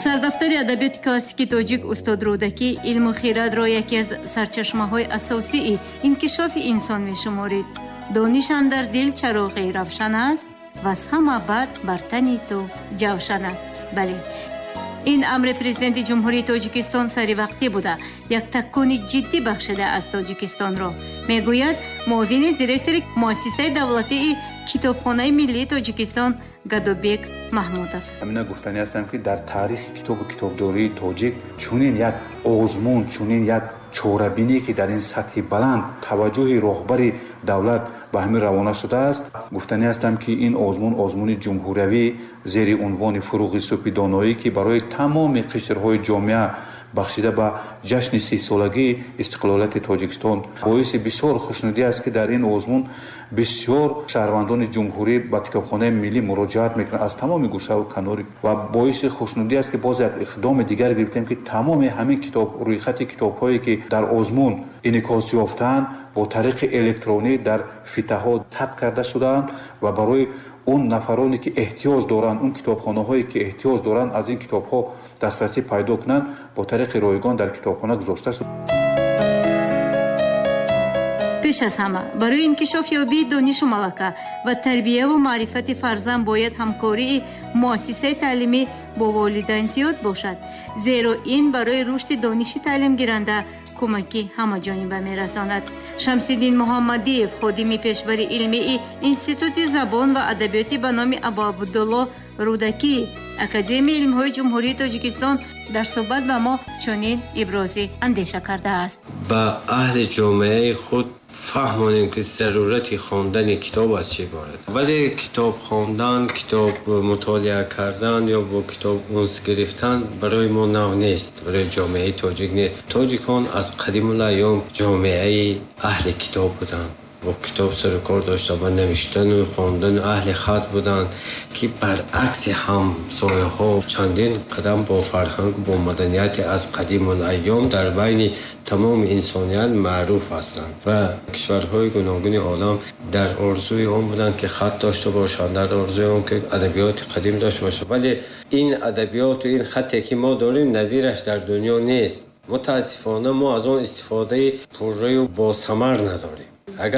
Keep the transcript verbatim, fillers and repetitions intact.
Сардафтари адабиёти классикии тоҷик устод Рӯдакӣ илму хирадро яке аз сарчашмаҳои асосии инкишофи инсон мешуморид. Дониш андар дил чароғи равшан аст, ваз ҳама бад бар тани ту ҷавшан аст. Бале, ин амри Президенти Ҷумҳурии Тоҷикистон саривақтӣ буда, як такони ҷиддӣ бахшида аз Тоҷикистонро, мегӯяд муовини директори Муассисаи давлатии Китобхонаи миллии Тоҷикистон Гадобек Маҳмудов. Ҳамина гуфтанӣ ҳастам, ки дар таърихи китобу китобдории тоҷик чунин як озмун, чунин як чорабинӣ, ки дар ин сатҳи баланд таваҷҷӯҳи роҳбари давлат ба ҳамин равона шудааст. Гуфтанӣ ҳастам, ки ин озмун, озмуни ҷумҳуриявӣ зери унвони «Фуруғи субҳи доноӣ», ки барои тамоми қишрҳои ҷомеа бахшида ба ҷашни сисолагии истиқлолияти Тоҷикистон, боиси бисёр хушнудӣ аст, ки дар ин озмун бисёр шаҳрвандони ҷумҳурӣ ба Китобхонаи миллӣ муроҷиат мекунанд аз тамоми гӯшаву канори. Ва боиси хушнудӣ аст, ки боз як иқдоми дигар гирифтем, ки тамоми ҳамин китоб, рӯйхати китобҳое, ки дар озмун инъикос ёфтаанд, бо тариқи электронӣ дар фитаҳо сабт карда шудаанд ва барои он нафароне, ки эҳтиёҷ доранд, он китобхонаҳое, ки эҳтиёҷ доранд, аз ин китобҳо дастрасӣ пайдо кунанд, бо тариқи ройгон дар китобхона гузошта шуд. Пеш аз ҳама барои инкишофёбии донишу малака ва тарбияву маърифати фарзанд бояд ҳамкории муассисаи таълимӣ бо волидайн зиёд бошад, зеро ин барои рушди дониши таълимгиранда кӯмаки ҳамаҷониба мерасонад. Шамсиддин Муҳаммадиев, ходими пешбари илмии Институти забон ва адабиёти ба номи Абуабдулло Рӯдакӣ, Академияи илмҳои Ҷумҳурии Тоҷикистон, дар суҳбат ба мо чунин ибрози андеша кардааст. Ба аҳли ҷомеаи худ фаҳмонем, ки зарурати хондани китоб аз чӣ иборат. Вале китоб хондан, китоб мутолиа кардан ё бо китоб унс гирифтан барои мо нав нест, барои ҷомеаи тоҷик нест. Тоҷикон аз қадимулайём ҷомеаи аҳли китоб буданд, бо китоб сару кор доштанд, ба навиштану хондану аҳли хат буданд, ки баръакси ҳамсояҳо чандин қадам бо фарҳангу бо маданияти аз қадимулайём дар байни тамоми инсоният маъруф ҳастанд. Ва кишварҳои гуногуни олам дар орзуи он буданд, ки хат дошта бошанд, дар орзуи он ки адабиёти қадим дошта бошанд. Вале ин адабиёту ин хате, ки мо дорем, назираш дар дунё нест. Мутаассифона, мо аз он истифодаи пурраю босамар надорем. Агар